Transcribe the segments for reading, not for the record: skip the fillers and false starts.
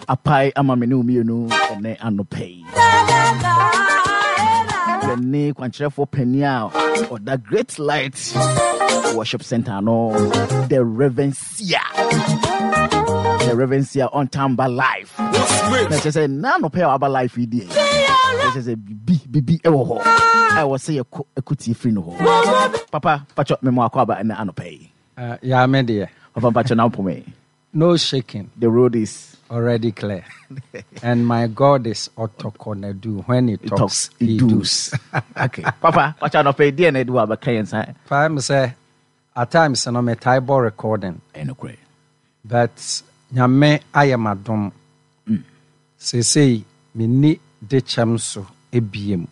Apae ama me ne wo mmienu ɛnɛ anɔpa yi. Yɛne kwankyerɛfoɔ panin a ɔda Great Light Worship Center no, the Reverend Sia. The Reverend Sia on Tamba Live. Na kyerɛ sɛ na anɔpa a waba live yi deɛ, kyerɛ sɛ bibi bibi ɛwɔ hɔ a ɛwɔ sɛ yɛkɔ ɛkɔtie firi no hɔ. Papa, pakyɛ mema wakɔ aba ɛnɛ anɔpa yi. Yaa me deɛ. Papa mpakyɛ na wopome. No shaking. The road is already clear. And my God is Otokonadu. When he talks, he does. Okay. Papa, pakyɛ anɔpa yi deɛ na ɛde wɔ abɛka yɛn nsa. Paa mi sɛ at times no me tae bɔ recording. Ɛnokorɛ. But Nyame ayɛ m'adom. Seesei menni dekyɛm so ebiem.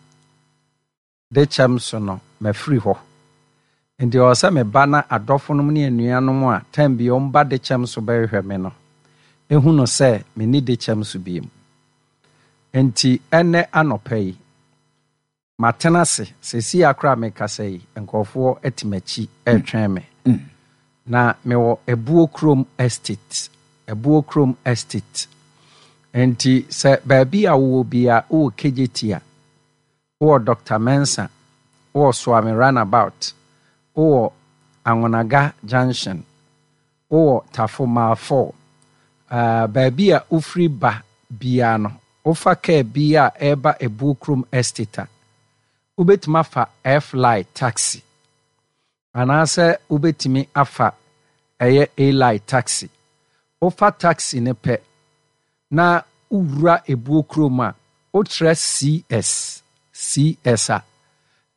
De kyɛm so no, mafiri hɔ. Enti ɛwɔ sɛ meba na adɔfonom ne anuanom a tɛm bi wɔba dekyɛm so bɛhwehwɛ me no hu no sɛ menni dekyɛm so bio. Enti ɛnnɛ anɔpa yi, matena ase, seesei ara koraa a merekasa yi, nkurɔfoɔ te m'akyi retwɛn me. Na mewɔ Abuo Kurom Estate, Abuo Kurom Estate. Enti sɛ baabi a wowɔ biara, wowɔ Kejetia, Wowɔ Doctor Mensah, wowɔ Suame Runabout, wowɔ Anwonaga Junction, wowɔ Tafo Mile 4. Uh, baabi a wofiri ba biara no, wofa kaa bi a ɛreba Ebuo Kurom Estate a, wobɛtumi afa F-Line taxi anaasɛ wobɛtumi afa ɛyɛ A-Line taxi. Wofa taxi no pɛ na wowura Ebuo kurom a, wokyerɛ CS, CS a,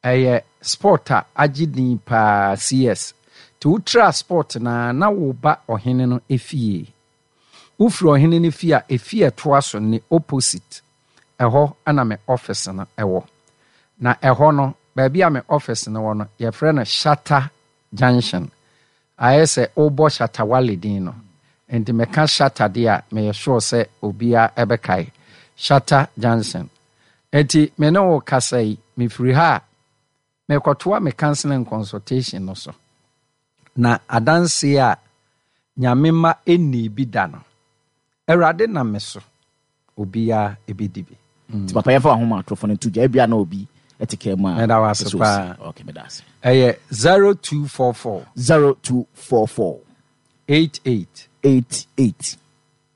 ɛyɛ sport a agye din paa, CS. Nti wotra sport no a, na woba ɔhene no efie. Wofiri ɔhene no fie a, efie a ɛtoa so ne opposite, ɛhɔ na me office no wɔ. Na ɛhɔ no, baabi a me office no wɔ no, yɛfrɛ no Shatta Junction. Ayɛ sɛ wobɔ Shatta Wale din no. Nti meka Shatta deɛ a, meyɛ sure sɛ obiara bɛkae. Shatta Junction. Nti me ne wo kasa yi, mefiri ha a, merekɔtoa me counseling and consultation no so. Na adanseɛ a Nyame mma nnii bi da no, Awurade nam me so, obiara bɛdi bi. Nti papa yɛmfa w'ahoma atorofo no nto dwa, ebia na obi te kaa mu a Meda wo ase ɛsɛ osi. paa. Okay, meda ase. Ɛyɛ 0244. 0244. 88. 88.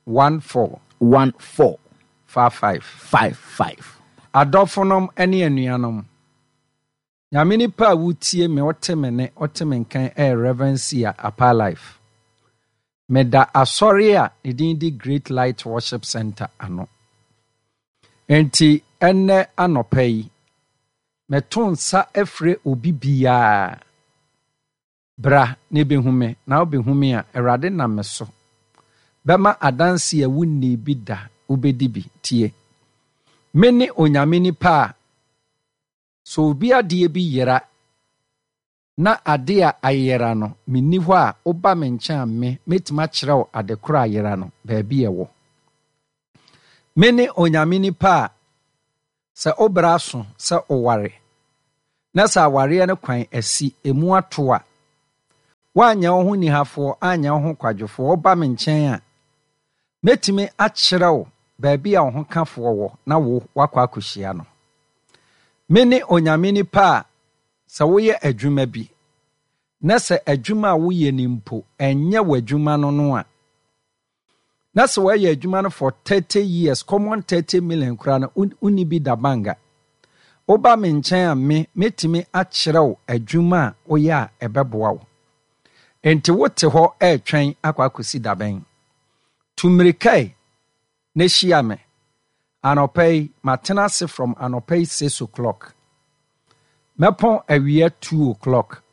14. 14. 55. 55. Adɔfonom ne anuanom, Nyame nipa a wotie me wote me ne wote me nkan ɛyɛ Rev Sia Apaa Life. Meda asɔre a ne din de Great Light Worship Center ano. Enti ɛnnɛ anɔpa yi, meto nsa frɛ obi biara, bra na bɛhu me, na wobɛhu me a, Awurade nam me so bɛma adanse a wonnii bi da, wobɛdi bi. Tie! Mene Onyame nipa a Sɛ obi adeɛ bi yera, na adeɛ a ayera no, menni hɔ a, woba me nkyɛn a me, mɛtumi akyerɛ wo ade korɔ a ayera no, baabi a ɛwɔ. Me ne Onyame nipa a, sɛ wo berɛ aso sɛ woware, na sɛ awareɛ no kwan asi, ɛmu ato a, woanyɛ wo ho nihafoɔ, anyɛ wo ho kwadwofoɔ, woba me nkyɛn a, Mɛtumi akyerɛ wo baabi a wo hokafoɔ wɔ na wo woakɔ akɔhyia no. Me ne Onyame nipa a sɛ woyɛ adwuma bi na sɛ adwuma a woyɛ no mpo ɛnyɛ w'adwuma no no a, na sɛ woayɛ adwuma no for 30 years, common 30 million koraa no wonni bi da banga. Woba me nkyɛn a me mɛtumi akyerɛ wo adwuma a woyɛ a ɛbɛboa wo. Enti wote hɔ retwɛn akɔ akɔsi da bɛn? Tu mmirika ɛ, na hyia me. Anɔpa yi, matena ase from anɔpa yi six o'clock. Mɛpɔn awia two o'clock.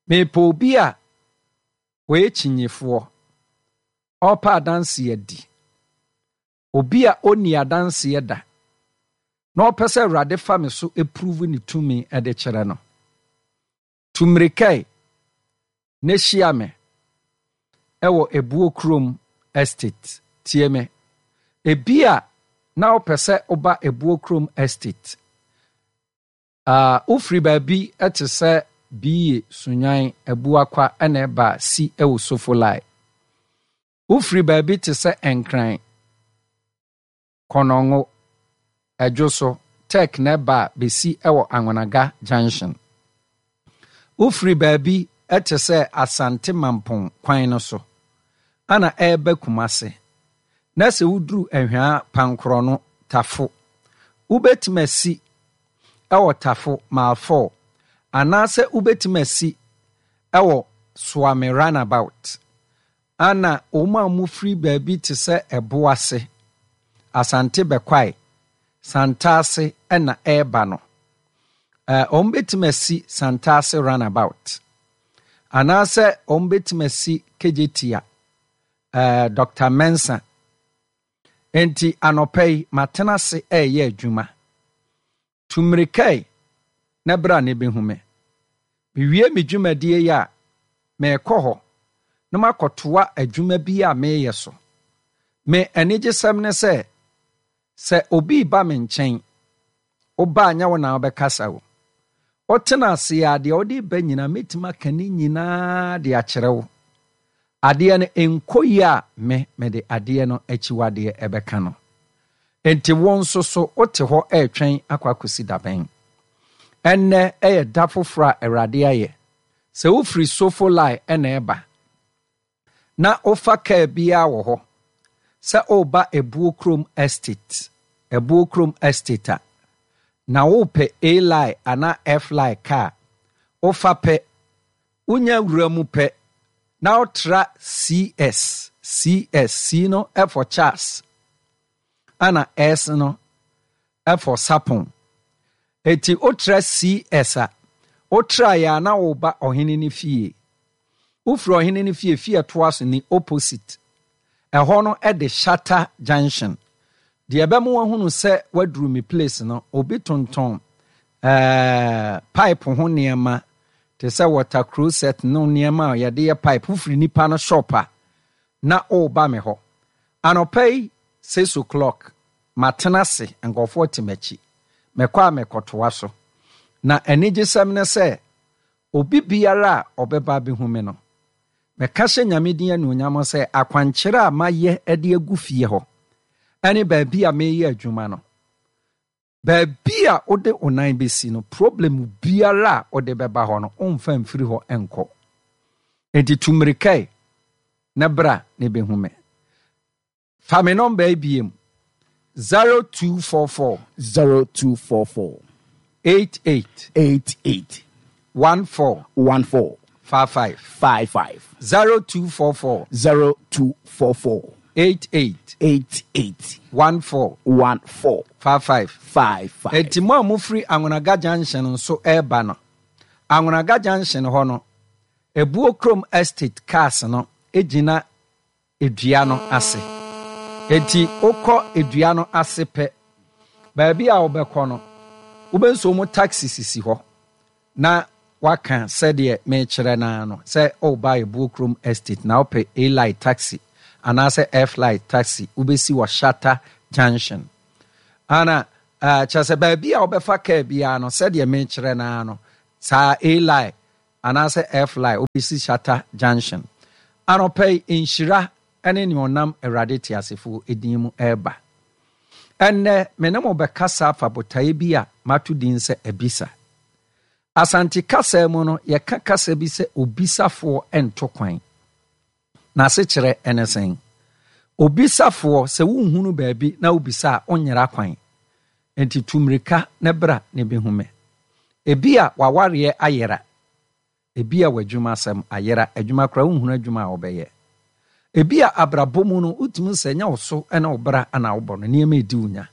Mepɛ obi a ɔyɛ kyinyefoɔ, ɔrepɛ adanseɛ adi. Obi a ɔnni adanseɛ da na ɔpɛ sɛ Awurade fa me so prove ne tumi de kyerɛ no. Tu mmirika ɛ, na hyia me wɔ Ebuo Kurom Estate. Tie me. Ebia na wopɛ sɛ woba Ebuo Kurom Estate. Ah, wofiri baabi te sɛ Biye, Sunyan, Abuakwa na ɛba a, si wɔ Sofolai. Wofiri baabi te sɛ Nkran, Kɔnɔngo, Ɛdwo so, Tech na ɛba a bɛsi wɔ Anwonaga Junction. Wofiri baabi te sɛ Asante Mampong kwan no so ana ɛreba Kumase na sɛ woduru Ahwaa Pankorɔno, Tafo, wobɛtumi asi wɔ Tafo Mile 4 anaasɛ wobɛtumi asi wɔ Suame Runabout ana wɔn a wɔfiri baabi te sɛ Ɛboase, Asante Bɛkwae, Santase na ɛreba no, wɔbɛtumi asi Santase Runabout anaasɛ wɔbɛtumi asi Kejetia, Dr. Mensah. Enti anɔpa yi, matena ase reyɛ adwuma. Tu mmirika ɛ, na bra na bɛhu me. Mewie me dwumadie yi a, merekɔ hɔ na makɔtoa adwuma bi a mereyɛ so. Me anigyesɛm ne sɛ, sɛ obi reba me nkyɛn, woba a nyɛ wo na wobɛkasa o. Wotena ase a, deɛ wode reba nyinaa, mɛtumi aka ne nyinaa de akyerɛ wo. Adeɛ no nkɔ yie a, me, mede adeɛ no akyiwadeɛ bɛka no. Enti wo nso so wote hɔ retwɛn akɔ akɔsi da bɛn? Ɛnnɛ yɛ da foforɔ a Awurade ayɛ. Sɛ wofiri Sofolai na ɛreba, na wofa kaa biara wɔ hɔ sɛ woreba Ebuo Kurom Estate, Ebuo Kurom Estate a, na worepɛ A-Line anaa F-Line kaa, wofa pɛ, Wonya wura mu pɛ na wotra CS, CS, C no for Charles, ɛna S no for Sapon. Eti wotra CS a, wotraeɛ a na woba ɔhene no fie. Wofiri ɔhene no fie, fie ɛtoa so ne opposite. Ɛhɔ no de Shatta Junction. Deɛ ɛbɛma wahunu sɛ waduru me place no, obi tontɔn ɛɛ pipe ho nneɛma te sɛ water closet no nneɛma a yɛde yɛ pipe. Wofiri nipa no shop a, na ɔreba me hɔ. Anɔpa yi 6 o'clock, matena ase, nkurɔfoɔ te m'akyi. Mɛkɔ a mɛkɔtoa so. Na anigyesɛm ne sɛ, obi biara a ɔbɛba abɛhu me no, mɛka hyɛ Nyame din anuonyam sɛ akwankyerɛ a mayɛ de agu fie hɔ ne baabi a meyɛ adwuma no, baabi a wode wo nan bɛsi no, problem biara a wode bɛba hɔ no, womfa mfiri hɔ nkɔ. Enti tu mmirika yi na bra na ɛbɛhu me. Fa me nɔmba yi biem, 0244 0244 88 88 14 14 55 55. 0244 0244 88 88 14 14 55. 55. Enti mo a mofiri Anwonaga Junction nso ɛreba no, Anwonaga Junction hɔ no, Ebuo Kurom Estate cars no gyina dua no ase. Enti wokɔ dua no ase pɛ, baabi a wobɛkɔ no, wobɛnso mu taxi sisi hɔ na waka sɛdeɛ mekyerɛ no ara no sɛ woba Ebuo Kurom Estate na wopɛ A-Light taxi anaasɛ F-Light taxi, wobɛsi wɔ Shatta Junction. Ana kyerɛ sɛ baabi a wobɛfa kaa biara no, sɛdeɛ mekyerɛ no ara no, saa A-Light anaasɛ F-Line, wobɛsi Shatta Junction. Anɔpa yi, nhyira ne nea ɔnam Awurade teasefoɔ din mu reba. Ɛnnɛ, me ne mo bɛkasa afa botaeɛ bi a mato din sɛ Abisa. Asante kasa mu no, yɛka kasa bi sɛ obisafoɔ nto kwan. N'asekyerɛ ne sɛn? Obisafoɔ, sɛ wonhunu baabi na wobisa a, wonyera kwan. Enti tu mmirika na bra na bɛhu me. Ebia w'awareɛ ayera. Ebia w'adwumasɛm ayera. Adwuma koraa wonhunu adwuma a wobɛyɛ. Ebia abrabɔ mu no, wotumi sɛ ɛnyɛ wo so ne wo bra na wobɔ no, nneɛma edi wo nya.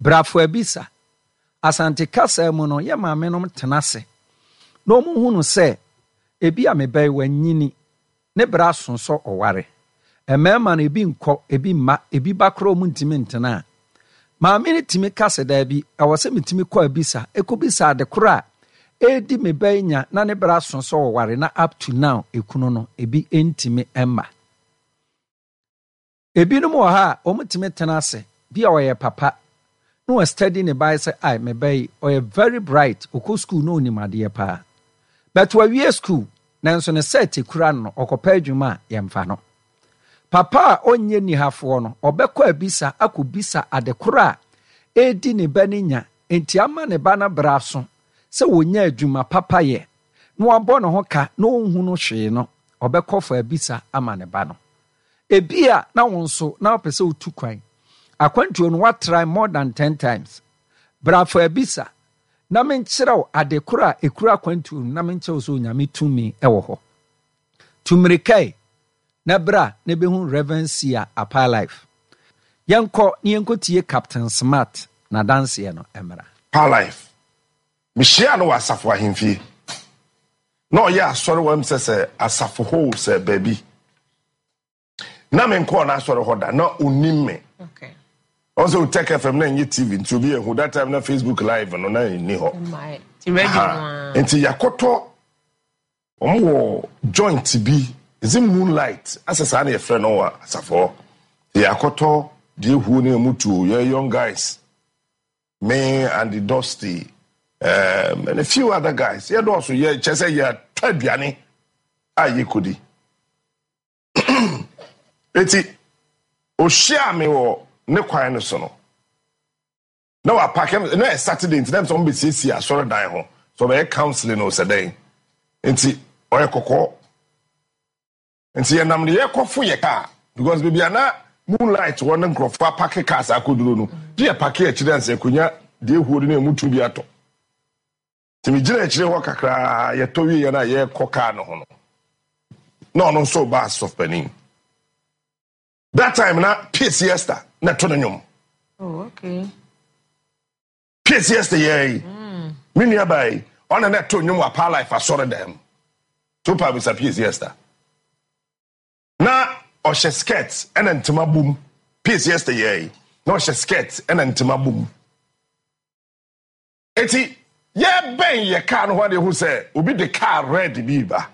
Bra fo abisa. Asante kasa mu no, yɛ maamenom tena ase na wɔhunu sɛ ebia me ba yi wanyini, ne bra aso sɛ ɔware. Mmarima no, ebi nkɔ, ebi mma, ebi ba koraa wɔn ntumi ntena a. Maame no tumi ka sɛ, Daabi, ɛwɔ sɛ metumi kɔ abisa, ɛkɔbisa ade korɔ a ɛredi me ba yi nya na ne bra aso sɛ ɔware na up to now ekunu no, ebi ntumi mma. Ebinom wɔ ha a, wɔtumi tena ase, bi a ɔyɛ papa, na wa study ne ba sɛ, ai, me ba yi, ɔyɛ very bright, ɔkɔ school na ɔnim adeɛ paa. But wawie school, nanso ne cert kura no no, ɔkɔpɛ adwuma a, yɛmfa no. Papa a ɔnyɛ nihafoɔ no, ɔbɛkɔ abisa akɔbisa ade korɔ a ɛredi ne ba no nya nti ama ne ba no berɛ aso sɛ ɔnya adwuma papa yɛ na wabɔ ne ho ka na ɔnhunu hwee no, ɔbɛkɔ fa abisa ama ne ba no. Ebia na wo nso na wopɛ sɛ wotu kwan. Akwantuo no woatrae more than ten times. Bra fa abisa na menkyerɛ wo ade korɔ a ɛkura akwantuo no na menkyerɛ wo sɛ Onyame tumi wɔ hɔ. Tu mmirika yi na bra na bɛhu Rev. Sia Apaa Life. Yɛnkɔ na yɛnkɔtie Captain Smart n'adanseɛ no mmra. Apaa Life. Mehyiaa no wɔ asafo ahemfie. Na ɔyɛ asɔre wɔ ɛm sɛ sɛ asafo hɔ o sɛ baabi. Na menkɔɔ n'asɔre hɔ da, na ɔnim me. Ɔn sɛ Otech FM na ɛnyɛ TV nti obi ahu that time na Facebook live no na ɛnni hɔ. Nti yɛakɔtɔ wɔn wɔ joint bi is it moonlight asɛ saa na yɛfrɛ no wɔ asafo hɔ. Yɛakɔtɔ deɛ ehuo ne ɛmu tuo yɛ young guys. Me Andy Dosty um, and a few other guys yɛdɔɔso yɛ kyɛ sɛ yɛatɔ aduane a yɛkɔdi. Eti ohyiaa me wɔ ne kwan no so no na wapake na yɛ Saturday nti na sɛ wɔn bɛsiesie asɔredan ho sɛ ɔbɛyɛ counseling o sɛ dɛn nti ɔyɛ kɔkɔɔ nti yɛnam ne yɛkɔfo yɛ kaa because baabi a na moonlight wɔ ne nkurɔfoɔ apake cars akɔduro no gye yɛ pake akyire ansa akonnwa deɛ ehuo no na emu tu bi atɔ. Nti megyina akyire hɔ kakraa, yɛtɔ wieɛ no a yɛrekɔ kaa no ho no, na ɔno nso reba asɔf panin. That time na Pie Siesta na ɛto no nnwom. Oh, okay. Pie Siesta yɛ yi, me nua baa yi, ɔna na ɛto nnwom wɔ Apaa Life asɔre dan mu. So pa bisa Pie Siesta. Na ɔhyɛ skirt ɛna ntoma bom. Pie Siesta yɛ yi, na ɔhyɛ skirt ɛna ntoma bom. Eti yɛbɛn yɛ kaa no ho ade hu sɛ obi de kaa red bi ba.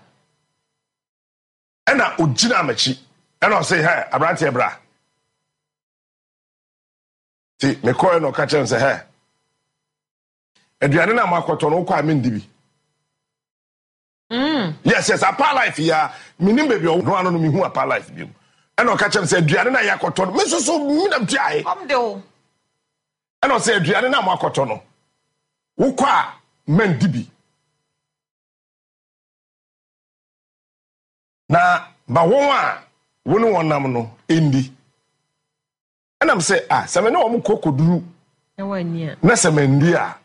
Ɛna ogyina m'akyi ɛna ɔse hɛ aberanteɛ bra. Ti mekɔɛ na ɔka kyerɛ me sɛ hɛ aduane no a moakɔtɔ no wokɔ a mendi bi. Yes yes apa life ya menim baabi ɔno ano no mehu apa life bi mu ɛna ɔka kyerɛ me sɛ aduane no a yɛakɔtɔ no me nso so menam tuae ɛna ɔsɛ aduane no a moakɔtɔ no wokɔ a mandi bi na ma wɔn a wo ne wɔn nam no ndi. Ɛnam sɛ a sɛ me ne wɔn kɔ kɔduru na sɛ mandi a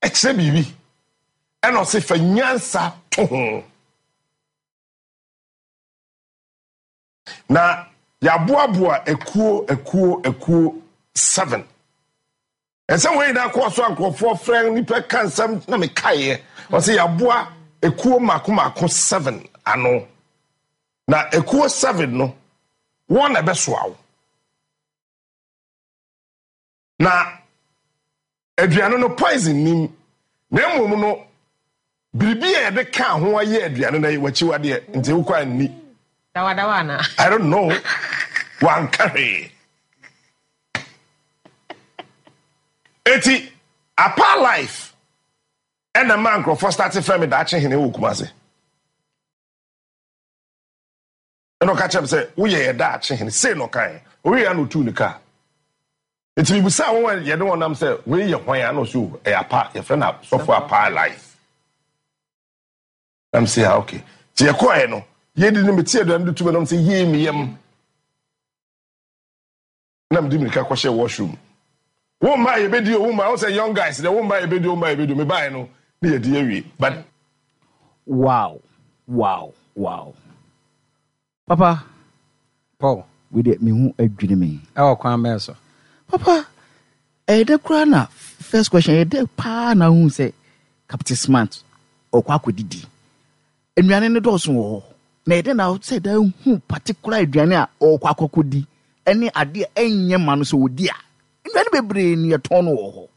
ɛkyerɛ biribi. Ɛna ɔse fa nyansa to ho. Na yɛaboaboa akuo akuo akuo seven. Ɛsɛ wɔn nyinaa kɔɔ so a nkurɔfoɔ frɛ nnipa ka nsɛm na mekaeɛ. Ɔse yɛaboa ekuo mako mako seven ano. Na ekuo seven no, wɔn na ɛbɛsoa wo. Na aduane no poison nim, na mmom no biribi a yɛde kaa ho ayɛ aduane no yɛ w'akyiwadeɛ, nti wokɔ a nni. Dawadawa anaa? I don't know. Wanka hwee. Eti apa life ɛna maa nkurɔfoɔ starte frɛ me daakye hene wɔ Kumase. Ɛna ɔka kyerɛ me sɛ woyɛ yɛ daakye hene sei na ɔkaeɛ. Ɔwieɛ a na ɔtuu ne kaa. Nti mebisaa wɔn a yɛne wɔn nam sɛ wei yɛ hwan a na ɔsɛ o ɛyɛ apa yɛfrɛ no sɔfo apa life. Na me sɛ ah okay. Nti yɛkɔɛ no yɛdi no mete aduane de tu me nom sɛ yie me yam. Na mede mirika kɔhyɛ washroom. Wo mma yɛbɛdi o wo mma wo sɛ young guys deɛ wo mma yɛbɛdi o mma yɛbɛdi o mebaeɛ no ne yɛdi awie but. Wow wow wow papa Paul. Wei deɛ me ho adwiri me. Ɛwɔ kwan bɛn so? Papa ɛyɛ dɛ koraa na first question ɛyɛ dɛ paa na wohu sɛ Captain Smart ɔkɔ akɔdidi. Nnuane no dɔɔso wɔ hɔ, na ɛdɛn na sɛ daa hu particular aduane a ɔrekɔ akɔkɔdi ne adeɛ a ɛnyɛ ma no sɛ ɔdi a, nnuane bebree ne yɛtɔn no wɔ hɔ.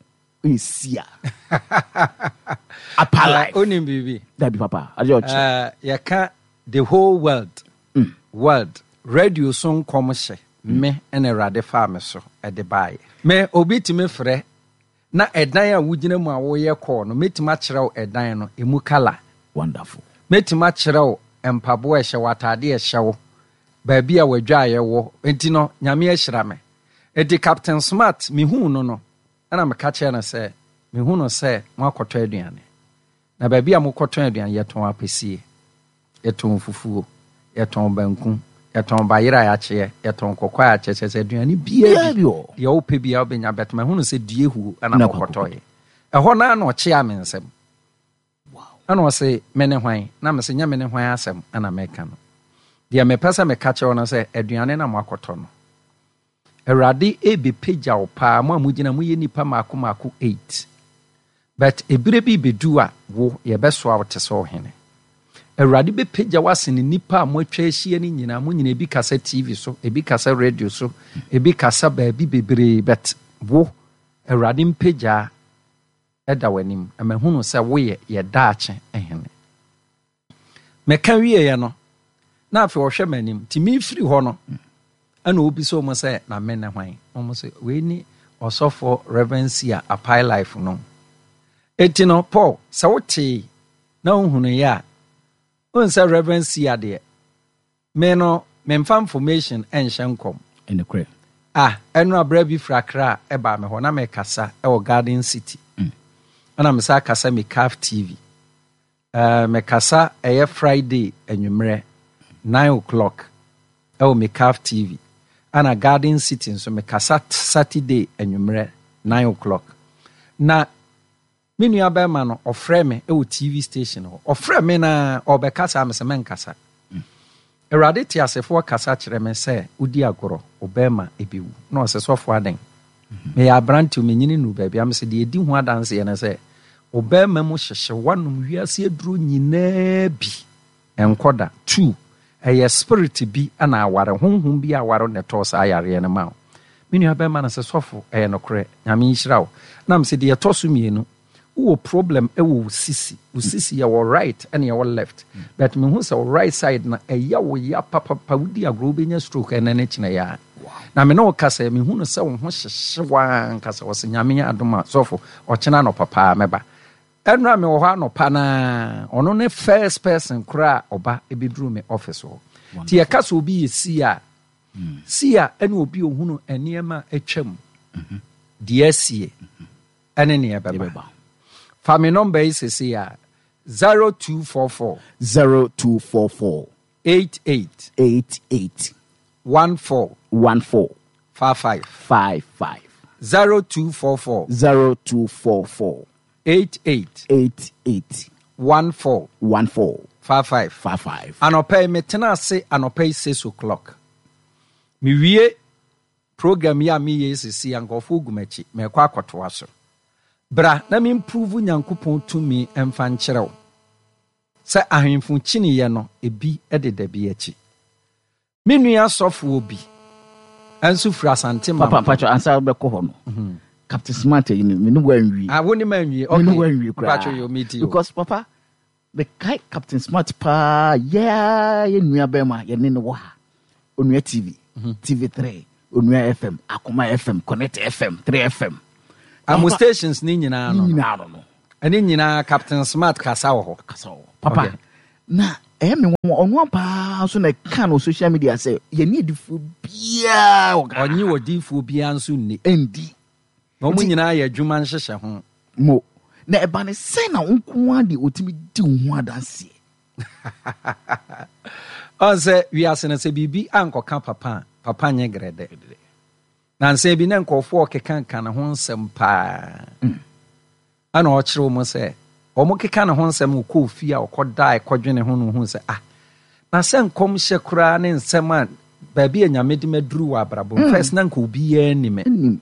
Ɛsi a. Apa life. Wonim biribi? Dabi papa, adeɛ ɔkyerɛ. Yɛka the whole world, world, radio so nkɔm hyɛ me ɛna Awurade faa me so de baeɛ. Me, obi tumi frɛ Na ɛdan a wogyina mu a woreyɛ call no, mɛtumi akyerɛ wo ɛdan no, ɛmu colour. Wonderful. Mɛtumi akyerɛ wo mpaboa a ɛhyɛ wo, ataadeɛ a ɛhyɛ wo. Baabi a w'adwaeɛ wɔ nti no, Nyame ahyira me. Enti Captain Smart, mehuu no no, ɛna meka kyerɛɛ no sɛ, mehu no sɛ moakɔtɔ aduane. Na baabi a mokɔtɔn aduane, yɛtɔn apɛsie, yɛtɔn fufuo, yɛtɔn banku, yɛtɔn bayerɛ a yɛakyeɛ, yɛtɔn kɔkɔɔ a yɛakyeɛ, kyerɛ sɛ aduane biara bi, deɛ wopɛ biara wobɛnya, but mahunu sɛ due huo ɛna mokɔtɔeɛ. Ɛhɔ no ara na ɔkyeaa me nsam. Ɛna ɔse, me ne hwan? Na mese, nyɛ me ne hwan asɛm ɛna meka no. Deɛ mepɛ sɛ meka kyerɛ wo no sɛ, aduane na moakɔtɔ no. Awurade rebɛpagya wo paa, mo a mogyina, moyɛ nnipa mmaako mmaako eight. But ɛberɛ bi rebɛdu a, wo, yɛbɛsoa wo te sɛ ɔhene. Awurade bɛpagya wo asene nnipa a moatwa ahyia no nyinaa, mo nyinaa, ebi kasa TV so, ebi kasa radio so, ebi kasa baabi bebree, but wo, Awurade mpagyaa da w'anim, na mahunu sɛ woyɛ yɛ daakye hene. Meka wieeɛ no, na afei ɔhwɛ m'anim. Nti mefiri hɔ no, ɛna ɔbisa wɔn sɛ, na me ne hwan? Wɔn sɛ, wei ni ɔsɔfoɔ Reverend Sia Apae Life no. Eti no, Paul, sɛ wotee na wohunuiɛ a, wohu sɛ Reverend Sia deɛ, Me no memfa information nhyɛ nkɔm. Nokorɛ. Ah, ɛnora berɛ bi firi Accra ɛbaa me hɔ, na mekasa ɛwɔ Garden City. Ɛna me san kasa Mikaf TV. Eh, mekasa ɛyɛ Friday anwummerɛ, 9 o'clock ɛwɔ Mikaf TV. Ɛna Garden City nso mekasa Saturday anwummerɛ, 9 o'clock. Na Me nua bɛrima no, ɔfrɛɛ me wɔ TV station hɔ. Ɔfrɛɛ me na ɔrebɛkasa a, mese mɛnkasa. Awurade teasefoɔ kasa kyerɛ me sɛ wodi agorɔ, wo bɛrima bɛwu. Na ɔse, sɔfo adɛn? Meyɛ aberante o, menyini nnuru baabi a. Mese, deɛ ɛdi ho adanseɛ ne sɛ, wo bɛrima mu hyehye, woanom wiase aduro nyinaa bi. Ɛnkɔ da. Two, ɛyɛ spirit bi na aware, honhom bi aware na ɛtɔɔ saa yareɛ no ma wo. Me nua bɛrima no se, sɔfo, ɛyɛ nokorɛ, Nyame nhyira wo. Na mese, deɛ ɛtɔ so mmienu, wowɔ problem wɔ wo sisi, wo sisi yɛwɔ right ɛna yɛwɔ left, but mehu sɛ wo right side no ɛyɛ wo ya papapa, wodi agorɔ wobɛnya stroke ɛnɛ ne kyena yi ara. Na me ne wo kasa yi, mehu no sɛ wo ho hyehye wo ara ankasa. Ɔse, Nyame adom a, sɔfo, ɔkyena anɔpa paa mɛba. Ɛnora me wɔ hɔ anɔpa no ara, ɔno ne first person koraa a ɔba bɛduru me office hɔ. Nti yɛka sɛ obi yɛ seer a, seer ne obi a ɔhunu nneɛma a atwam, deɛ asie, ɛne nea ɛbɛba. Fa me nɔmba yi sesei a, 0244. 0244. 88. 88. 14. 14. 55. 55. 0244. 0244. 88. 88. 14. 14. 55. 55. Anɔpa yi metena ase anɔpa yi 6 o'clock. Mewie program yi a meyɛ yi sisi a nkurɔfoɔ gu m'akyi mekɔ akɔtoa so. Bra na me improve Nyankopɔn tumi mfa nkyerɛ wo sɛ ahemfo kyiniiɛ no ebi deda bi akyi. Me nua sɔfoɔ bi nso firi Asante Papa Mampong. mpacho ansa wobɛkɔ hɔ no. Captain Smart ayi no me ne wo anwie. Ah, wo ne ma anwie. Me ne Okay. wo anwie koraa. Mpacho yo, me ti o. Because papa mekae Captain Smart paa yɛa yɛ nua bɛrima yɛne no wɔ ha. Onua TV, TV3, Onua FM, Akoma FM, Connect FM, 3 FM. Amo stations ne nyinaa no. Ne nyinaa no no. Ɛne nyinaa Captain Smart kasa wɔ hɔ. Kasa wɔ hɔ. Papa, Okay. na ɛyɛ me nwanwa ɔno paa nso na ɛka no social media sɛ yɛne adifoɔ biara wɔ Ghana. Ɔnye odiyifoɔ biara nso nni. Ɛndi. Na wɔn nyinaa yɛ adwuma nhyehyɛ ho. Mo. Na ɛba ne sɛn na wo nko ara deɛ ɔtumi di wo ho adanseɛ? Ɔn sɛ wiase no sɛ biribi ankɔka papa a, papa nyɛ grɛdɛ. Nansa bi na nkurɔfoɔ rekeka ne ho nsɛm paa. Ɛna ɔkyerɛ wɔn sɛ wɔkeka ne ho nsɛm ɔkɔɔ fie a ɔkɔdae kɔdwene ho no ohuu sɛ ah na sɛ nkɔmhyɛ koraa ne nsɛm a baabi a Nyame de maduru wɔ abrabɔ mu first na nka obiara nni me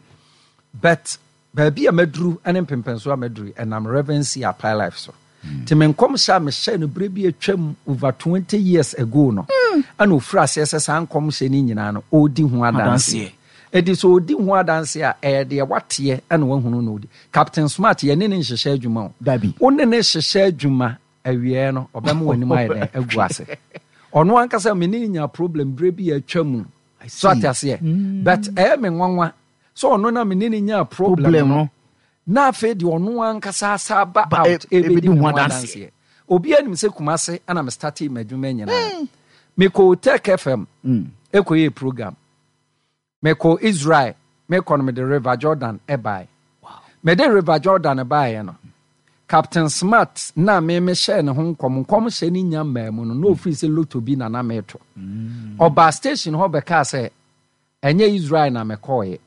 but baabi a maduru ne mpempɛnso a maduru ɛnam Reverend C. Apai Life so nti me nkɔmhyɛ a mehyɛ no berɛ bi atwam over 20 years ago no ɛna ɔfiri aseɛ sɛ saa nkɔmhyɛ no nyinaa no ɔredi ho adanseɛ. Enti sɛ ɔdi ho adanseɛ a, ɛyɛ deɛ wateɛ na wahunu na ɔdi. Captain Smart, yɛne no nhyehyɛ adwuma o. Dabi. Wo ne no hyehyɛ adwuma, awieɛ no, ɔbɛma w'anim ayɛ dɛn? Agu ase. Ɔno ankasa, me ne no nyaa problem berɛ bi a atwa mu. So ate aseɛ? But ɛyɛ me nwanwa sɛ ɔno na me ne no nyaa problem no, na afei deɛ ɔno ankasa asa aba out ɛbɛdi me ho adanseɛ. Obiara nim sɛ Kumase na me startee m'adwuma nyinaa. Mekɔɔ Tech FM ɛkɔyɛɛ program. Mekɔɔ Israel, mekɔ no mede River Jordan baeɛ. Mede River Jordan baeɛ no, Captain Smart na me mehyɛɛ ne ho nkɔm, nkɔmhyɛ no nya mmaa mu no, na ɔfiri sɛ lotto bi na na meto. Ɔbaa station hɔ bɛkaa sɛ, ɛnyɛ Israel na mekɔeɛ,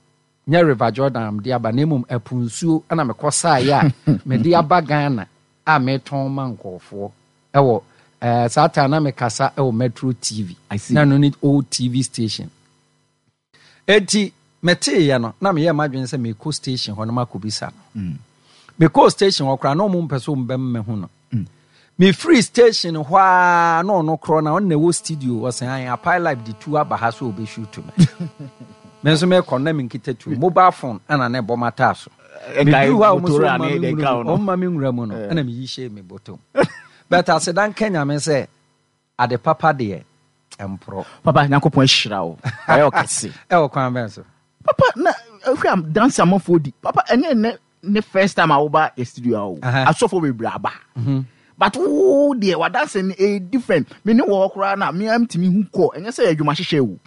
nyɛ River Jordan na mede aba, na mmom ɛpo nsuo na mekɔsaeɛ a mede aba Ghana a metɔn ma nkurɔfoɔ wɔ eh, saa time na mekasa wɔ Metro TV. Na ɛno ne old TV station. Enti meteeɛ no, na meyɛɛ m'adwene sɛ mekɔ station hɔ na makɔbisa no. Mm. Mekɔɔ station hɔ koraa na ɔmo mpɛ sɛ ɔmo bɛma mahu no. Mm. Mefiri station hɔ a na ɔno korɔ na ɔno na ɛwɔ studio ɔsɛn ayɛ apae live de tu aba ha sɛ ɔbɛshoot me. Me nso mekɔ na menkita tu mobile phone ɛna na ɛbɔ m'ataa so. Meduru hɔ a wɔn nso wɔn ma me nwura mu no ɛna meyi hyɛɛ me bɔtɔ mu. But aseda nka Nyame sɛ ade papa deɛ ɛmporɔ. Papa Nyankopɔn ahyira wo. Wayɛ ɔkɛse. Ɛwɔ kwan bɛn so? Papa na hwɛ a dance amanfoɔ di. Papa ɛnyɛ nnɛ ne first time a woba yɛ studio a o. Asɔfoɔ bebree aba. Mhm. But wo deɛ wadanse no ɛyɛ different. Me ne wɔ hɔ koraa na me ara metumi hu kɔ. Ɛnyɛ sɛ adwuma hyehyɛ o.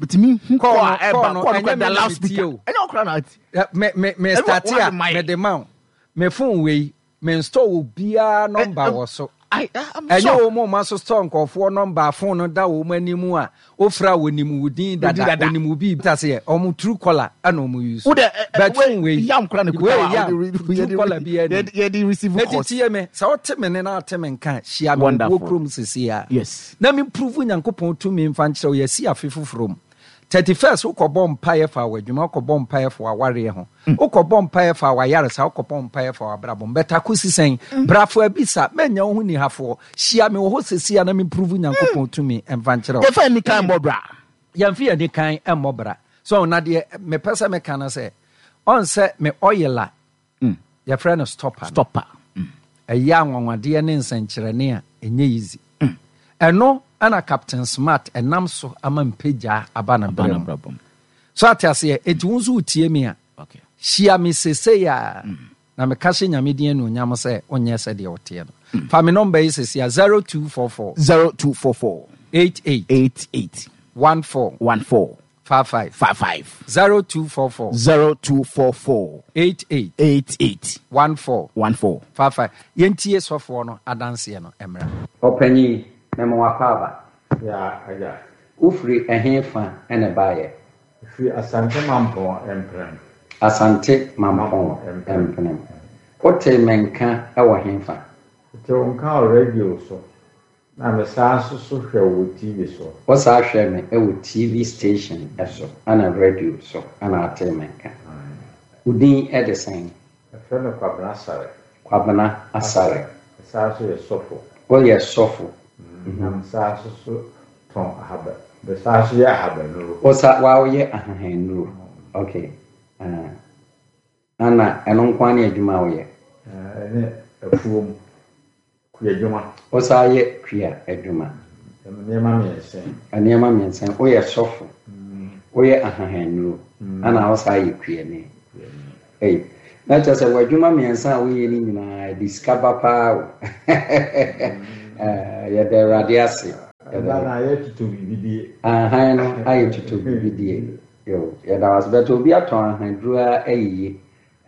Metumi hu kɔ a ɛba kɔ no kora da loudspeaker. Ɛnyɛ wo koraa na ati. Me me me start a mede ma wo. Me phone wei me install obiara number wɔ so. Ɛnyɛ wɔn mu ɔma so store nkurɔfoɔ number phone no da wɔn anim a wofra a wɔnim wo din dada wɔnim wo biribi ta sɛ wɔn true caller ɛna wɔn use but phone wei yam kora ne kuta wei yam true caller bi ɛni yɛde receive calls eti tie me sɛ wote me ne na ate me nka hyia me wɔ kurom sisi a yes na me prove Nyankopɔn tumi mfa nkyerɛ wo yɛsi afe foforɔ mu 31st wokɔbɔ mpaeɛ fa w'adwuma wokɔbɔ mpaeɛ fa w'awareɛ ho Wokɔbɔ mpaeɛ fa w'ayaresa, wokɔbɔ mpaeɛ fa w'abrabɔ mu. But akosi sɛn? Bra fo abisa, mɛnya wo ho nihafoɔ. Hyia me wɔ hɔ seesei a na me prove Nyankopɔn tumi mfa nkyerɛ wo. Yɛmfa yɛn anikan mmɔ bra. Yɛmfa yɛn anikan mmɔ bra. So na deɛ mepɛ sɛ meka no sɛ, ɔn sɛ me oil a yɛfrɛ no stopper no, Stopper. ɛyɛ anwanwadeɛ ne nsɛnkyerɛnne a ɛnyɛ easy. Ɛno na Captain Smart ɛnam so ama mpagyaa aba n'abrabɔ mu. So ate aseɛ? Enti wo nso wotie me a, hyia me sesei a, mm. na meka hyɛ Nyame din anuonyam sɛ wonyɛ sɛdeɛ woteɛ no. Mm. Fa me nɔmba yi sesei a, 0244 0244 88 88 14 14 55 55 0244 0244 88 88 14 14 55. Yɛntie sɔfoɔ no adanseɛ no mmra. Ɔpanyin, mema wo akwaaba. Ya, agya. Wofiri ɛhe fa na ɛbaeɛ? Mefiri Asante Mampɔn Mpenem. Asante Mampɔn Mpenem. Wotee me nka wɔ he fa? Metee wo nka wɔ radio so, na mesan nso so hwɛ wo wɔ TV so. Wosan hwɛɛ me wɔ TV station so ɛna radio so na wotee me nka. Wo din de sɛn? Yɛfrɛ me Kwabena Asare. Kwabena Asare. Mesan nso yɛ sɔfo. Woyɛ sɔfo. Na mesan nso so tɔn ahaba, mesan nso yɛ ahabannuro. Wosa, wa woyɛ ahahannuro. Okay. Ah. Ana ɛno nko ara ne adwuma a woyɛ? Ɛne afuom. Kuadwuma. Wosan yɛ kua adwuma. Nneɛma mmiɛnsa yi. Nneɛma mmiɛnsa yi. Woyɛ sɔfo, woyɛ ahahannnuro, ɛna wosan yɛ kuani. Ei, na kyerɛ sɛ w'adwuma mmiɛnsa a woyɛ no nyinaa ɛde sika ba paa o. Yɛda Awurade ase. Ɛba na ayɛ tutɔ biribi die. Ahan no ayɛ tutɔ biribi die. Yo, yɛda wo ase. But obi atɔn ahanduro ara ayiye.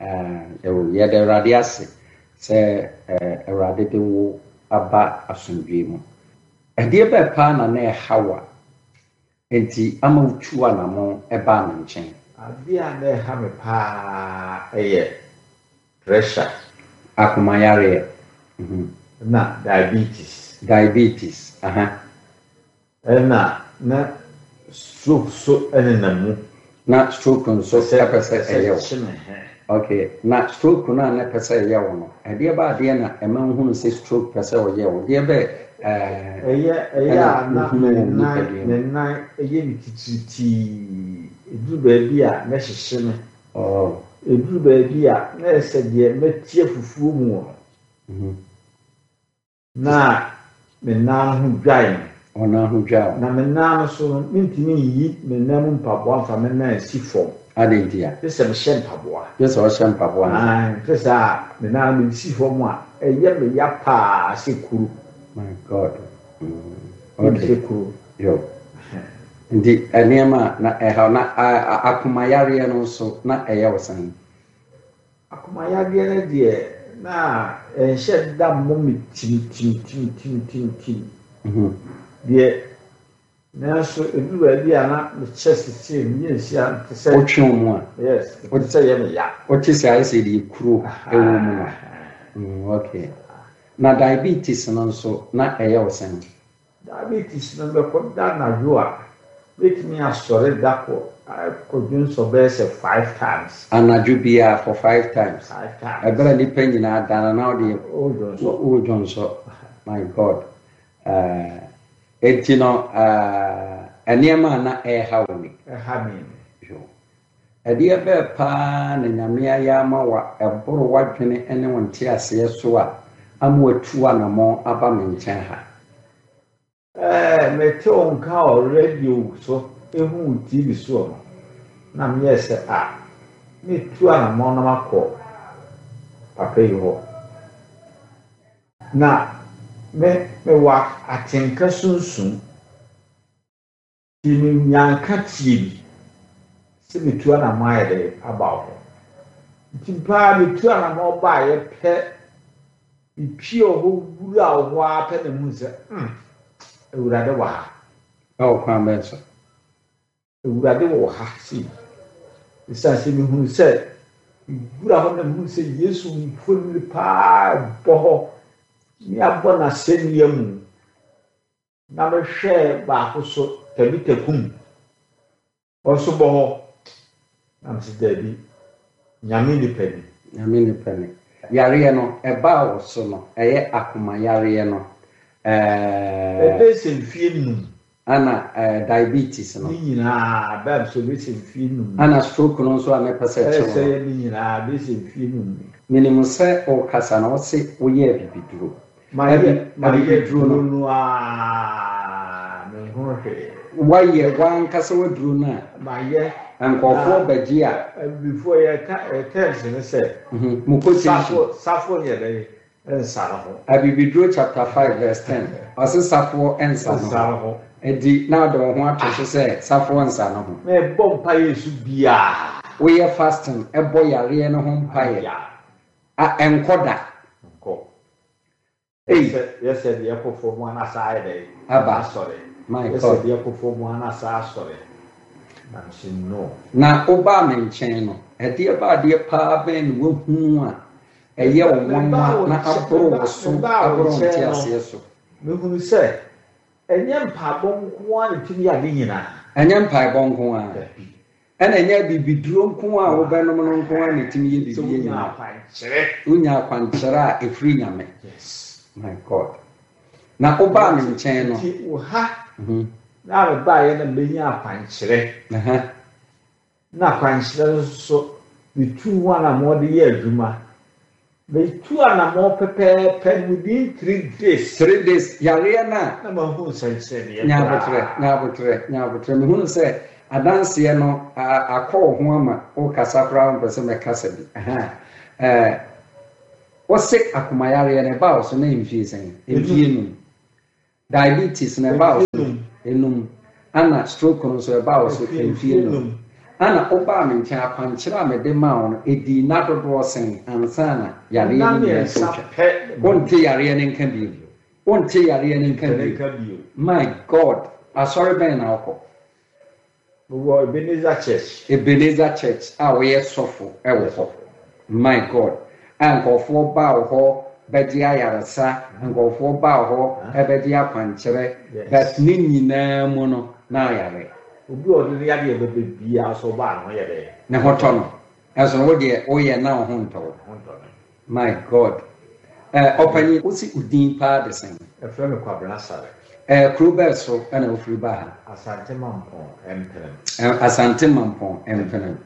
Ɛwom, yɛda Awurade ase sɛ Awurade de wo aba asomdwoe mu. Ɛdeɛ bɛn paa na na ɛha wo a enti ama wotuu anammɔn baa me nkyɛn? Adeɛ a na ɛha me paa yɛ pressure. Akomayareɛ. Ɛna diabetes. Diabetes, aha. Ɛna na stroke so nenam mu. Na stroke nso pɛ sɛ ɛyɛ wo. Okay, na stroke no a na ɛpɛ sɛ ɛyɛ wo no, ɛdeɛ bɛ adeɛ na ɛma wohunu sɛ stroke pɛ sɛ ɔyɛ wo? Deɛ bɛ ɛɛ Ɛyɛ ɛyɛ a na me nan me nan yɛ me titiritii, ɛduru baabi a na ɛhyehye me. Oh. Ɛduru baabi a na ɛyɛ sɛ deɛ matia fufuo mu no. Na me nan ho dwae me. Wo nan ho dwae wo. Na me nan no so no, mintumi nyi me nan mu mpaboa mfa me nan nsi fam. Adɛn ntia? Gye sɛ mehyɛ mpaboa. Gye sɛ wohyɛ mpaboa ansa. Aane, ɛnte saa a, me nan no mede si fam a, ɛyɛ me ya paa sɛ kuru. My God. Mm. Okay. Sɛ kuru. Yo. Nti nneɛma a na ɛhaw na akomayareɛ no nso na ɛyɛ wo sɛn? Akomayadeɛ no deɛ na ɛnhyɛ da mmɔ me tim tim tim tim tim tim deɛ nanso ɛduru baabi a na mekyɛ sesei meyɛ nsia nte sɛ. Wotwe wo mu a. Yes, ɛte sɛ ɛyɛ me ya. Wote sɛ ayɛ sɛ deɛ kuro wɔ mu no. Okay. Na diabetes no nso na ɛyɛ wo sɛn? Diabetes no bɛkɔ da anadwo a, mɛtumi asɔre da kɔ akɔ dwonsɔ bɛyɛ sɛ five times. Anadwo biara for five times. Five times. Ɛberɛ a nnipa nyinaa da no na wode Wodwonsɔ. wodwonsɔ. My God. Eh, enti no eh, nneɛma a na ɛreha wo ni. Ɛha me ni. Yo. Ɛdeɛ bɛɛ paa na Nyame ayɛ ama wo a ɛboro w'adwene ne wo nteaseɛ so a ama watu anamɔn aba me nkyɛn ha? Ɛɛ, mete wo nka wɔ radio so, ehu wo TV soɔ no, na meyɛɛ sɛ ah, mɛtu anamɔn na makɔ papa yi hɔ. Na me, mewɔ atenka sunsum. Nti menyaa nkateɛ bi sɛ metu anamɔn ayɛ dɛ aba wo hɔ. Nti paa metu anamɔn baeɛ pɛ, mepie wɔ hɔ wuraa wo hɔ ara pɛ na mehuu sɛ mm, Awurade wɔ ha. Ɛwɔ kwan bɛn so? Awurade wɔ ha sei. Ɛsiane sɛ mehunu sɛ mewura hɔ na mehunu sɛ Yesu mfonini paa bɔ hɔ ne abɔ n'asɛnnua mu. Na mehwɛɛ baako so, Tabita kum, ɔnso bɔ hɔ. Na mese daabi, Nyame nipa ni. Nyame nipa ni. Yareɛ no, ɛbaa wo so no, ɛyɛ akoma yareɛ no, ɛɛ. Ɛbɛyɛ sɛ mfie num. Ɛna ɛɛ diabetes no. Ne nyinaa, ɛbaa me so ɛbɛyɛ sɛ mfie num. Ɛna stroke no nso a na ɛpɛ sɛ ɛkye wo no. Ɛsɛ yɛ ne nyinaa, ɛbɛyɛ sɛ mfie num ni. Menim sɛ wokasa no, wose woyɛɛ abibiduro. Mayɛ mayɛ aduro no aa menhunu hwee. Wayɛ w'ankasa w'aduro no a. Mayɛ. Nkurɔfoɔ bɛgye a. Abibifoɔ yɛ ka yɛ terms ne sɛ. Mo quotation. Safo safo nyɛ dɛn nsa ne ho. Abibiduro chapter 5 verse 10 ɔse safoɔ nsa ne ho. Nsa ne ho. Enti na wode wo ho ato so sɛ safoɔ nsa ne ho. Mebɔ mpaeɛ su biaa. Woyɛ fasting bɔ yareɛ no ho mpaeɛ. A ɛnkɔ da. Nkɔ. Ei. Yɛsɛ yɛsɛ deɛ ɛkɔ fam a na saa ayɛ dɛn? Aba. Asɔre. My Yɛsɛ God. deɛ ɛkɔ fam a na saa asɔre. Na mese no. Na wobaa me nkyɛn no, ɛdeɛ ba adeɛ paa bɛn na woahunu a ɛyɛ wo Mebaa nwanwa wo na nkyɛn aboro meba wo so, mebaa wo aboro wo nkyɛn no, nteaseɛ so? mehunu sɛ ɛnyɛ mpaebɔ nko ara na ɛtumi yɛ ade nyinaa. Ɛnyɛ mpaebɔ nko ara. Dabi. Ɛna ɛnyɛ abibiduro nko a wobɛnom no nko ara na ɛtumi yɛ Sɛ biribi wonya nyinaa. akwankyerɛ. Wonya akwankyerɛ a ɛfiri Nyame. Yes. My God. Na wobaa me nkyɛn no. Nti wo ha na mebaeɛ na mebɛnya akwankyerɛ. Na akwankyerɛ no nso so, metuu ho anammɔn de yɛɛ adwuma. Metuu anammɔn pɛpɛɛpɛ no within 3 days. 3 days yareɛ no a. Na mahu nsɛnkyerɛnneɛ Nya aboterɛ, koraa. nya aboterɛ, nya aboterɛ. Mehunu sɛ adanseɛ no akɔ wo ho ama wokasa koraa wompɛ sɛ mɛkasa bi. Aha. Ɛɛ, wose akomayareɛ no ɛbaa wo so na mfie sɛn? Mfie 5. Diabetes no ɛbaa wo so 5. Ana stroke no nso ɛbaa wo so mfie 5. Ana wobaa me nkyɛn akwankyerɛ a mede maa wo no ɛdii nna dodoɔ sɛn ansa na yareɛ Nna no nyinaa mmiɛnsa retwa? pɛ. Wonte yareɛ no nka bio. Wonte yareɛ no nka Nte ne bio. nka bio. My God, asɔre bɛn na wokɔ? Mewɔ Ebenezer Church. Ebenezer Church a woyɛ sɔfo wɔ hɔ. My God, a nkurɔfoɔ ba wo hɔ bɛgye ayaresa, nkurɔfoɔ ba wo hɔ bɛgye akwankyerɛ, but ne nyinaa mu no na ayare. Obi a ɔde ne yadeɛ bɛba biara sɛ ɔba a ne ho yɛ dɛn? Ne ho tɔ no. Ɛso wo deɛ woyɛ na wo ho ntɔ wo. Ne ho ntɔ me. My God. Eh, ɔpanyin, wose wo din paa de sɛn? Yɛfrɛ me Kwabena Asare. Eh, kuro bɛɛ so na wofiri baa ha? Asante Mampɔn Mpenem. Eh, Asante Mampɔn Mpenem.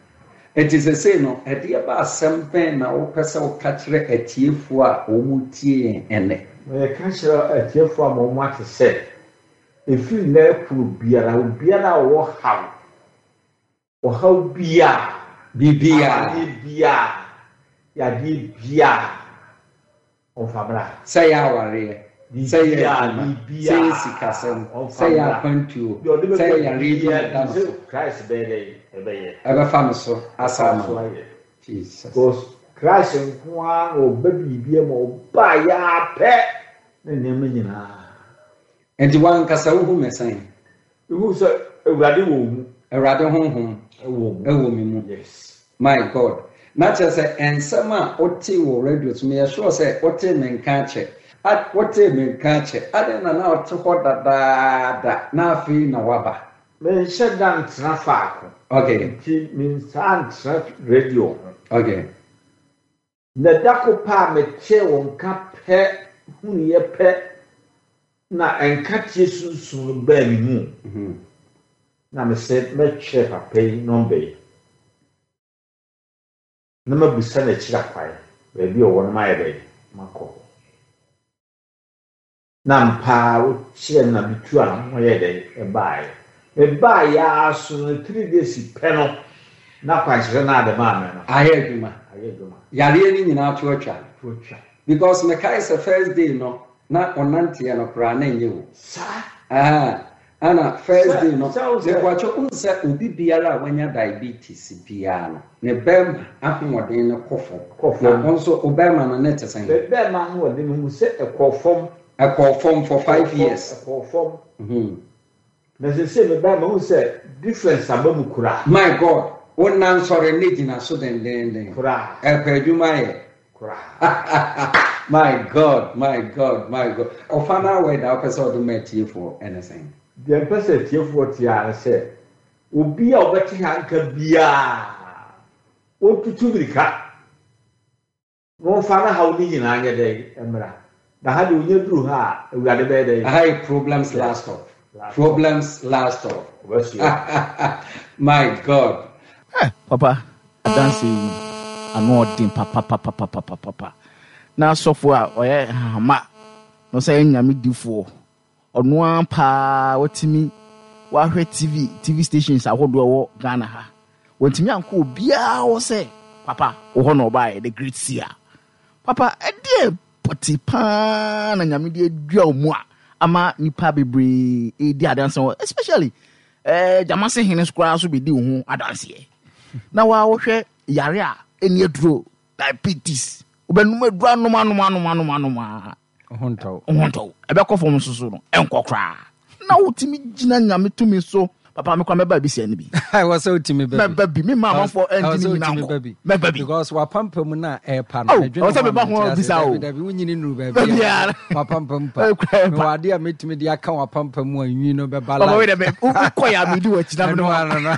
Enti sesei no, ɛdeɛ ba asɛm bɛn na wopɛ sɛ woka kyerɛ atiefoɔ a wɔretie yɛn ɛnnɛ? Meka kyerɛ atiefoɔ ama wɔate sɛ, ɛfiri nnɛ rekɔ biara, obiara a ɔwɔ haw, ɔhaw biara, Biribiara. amaneɛ biara, yadeɛ biara, ɔmfa mmra. Sɛ ɛyɛ awareɛ. Sɛ yɛ adwuma, sɛ yɛ sikasɛm, sɛ yɛ akwantuo, sɛ yɛ yareɛ bi na ɛda no so. Christ bɛyɛ dɛ ɛbɛyɛ. Ɛbɛfa no so asa ama no. Jesus. Because Christ nko ara na ɔba biribi ma ɔba yɛ apɛ ne nneɛma nyinaa. Nti wankasa wohu me sɛn? Mehu sɛ Awurade wɔ wo mu. Awurade honhom wɔ me mu. Yes. My God. Na kyerɛ sɛ nsɛm a wotee wɔ radio so, meyɛ sure sɛ wotee me nka akyɛ. Wotee me nka akyɛ. Adɛn na na wote hɔ dadaada na afei na woaba? Menhyɛ da ntena faako. Okay. Nti mensaa ntena radio ho. Okay. Na da ko pɛ a metee wo nka pɛ hunuiɛ pɛ na nkateɛ sunsum no baa me mu. Na mese mɛtwerɛ papa yi nɔmba yi na mabisa no akyiri akwan, baabi a ɔwɔ no mayɛ dɛn makɔ hɔ. Na ampa ara wokyerɛɛ me na metuu anamɔn yɛɛ dɛn? Ɛbaeɛ. Mebaeɛ ara so no, 3 days pɛ no, na kwankyerɛ no a de maa me no. Ayɛ adwuma. Ayɛ adwuma. Yareɛ no nyinaa to atwa. To atwa. Because mekae sɛ first day no, na ɔnanteɛ no koraa na ɛnyɛ o. Saa. Ahaa. Ana first day no, Sɛ wo sɛ. mepakyɛ wohu sɛ obi biara a wanya diabetes biara no, ne bɛrima ahoɔden no kɔ fam. Kɔ Na fam. wo nso wo bɛrima no ne te sɛn? Me bɛrima ahoɔden mehu sɛ ɛkɔɔ fam. Ɛkɔɔ fam for Ɛkɔɔ five fam, years. ɛkɔɔ fam. Na seesei me bɛrima mehu sɛ difference aba mu koraa. My God, wo nan sɔre ne gyina so dendeenden. Koraa. Ɛpɛ adwuma yɛ. Koraa. My God, my God, my God. Ɔfa no awɛ da wopɛ sɛ ɔde ma atiefoɔ ɛne sɛn? Deɛ mpɛ sɛ atiefoɔ te ara ne sɛ, obi a ɔbɛte ha nka biara, ɔntutu mmirika na ɔmfa ne haw no nyinaa nyɛ dɛn mmra. Na ha deɛ ɔnya duru ha a, Awurade bɛyɛ dɛn? Aha yɛ problems last stop. Problems last stop. Ɔbɛsoa. My God. Eh papa adanse yi ano ɔden papapapapapapa na sɔfo a ɔyɛ hahama na ɔsɛ yɛ nyame difoɔ ɔno ara paa watumi wahwɛ TV TV stations ahodoɔ ɛwɔ Ghana ha wantumi ankɔ obiara hɔ sɛ papa wɔ hɔ na ɔbaeɛ the great seer papa ɛdeɛ pɔte paa na nyame de adua wo mu a ama nipa bebree ɛredi adanse wɔ especially eh, gyamase hene koraa so bɛdi wo ho adanseɛ na waa wohwɛ yare a ɛni aduro diabetes wobɛnom aduro anom anom anom anom anom a Ho ntɔ wo. Ho ntɔ wo. Ɛbɛkɔ fam nso so no, ɛnkɔ koraa. Na wotumi gyina Nyame tumi so. Papa, me koraa mɛba abisia no bi. Ɛwɔ sɛ wotumi ba bi. Mɛba bi. Me mma amanfoɔ ɛngye ne nyina nkɔ. Mɛba bi. Because wapampam no a ɛrepa no. Oh, ɛwɔ sɛ meba ho bisa o. Dabi, dabi, wonyini nnuru baabi a. Wapampam pa. Mewɔ adeɛ a mɛtumi de aka wapampam mu a nwi no bɛba live. Papa, wei dɛ, wokɔ yɛ a medi w'akyi na mene wa.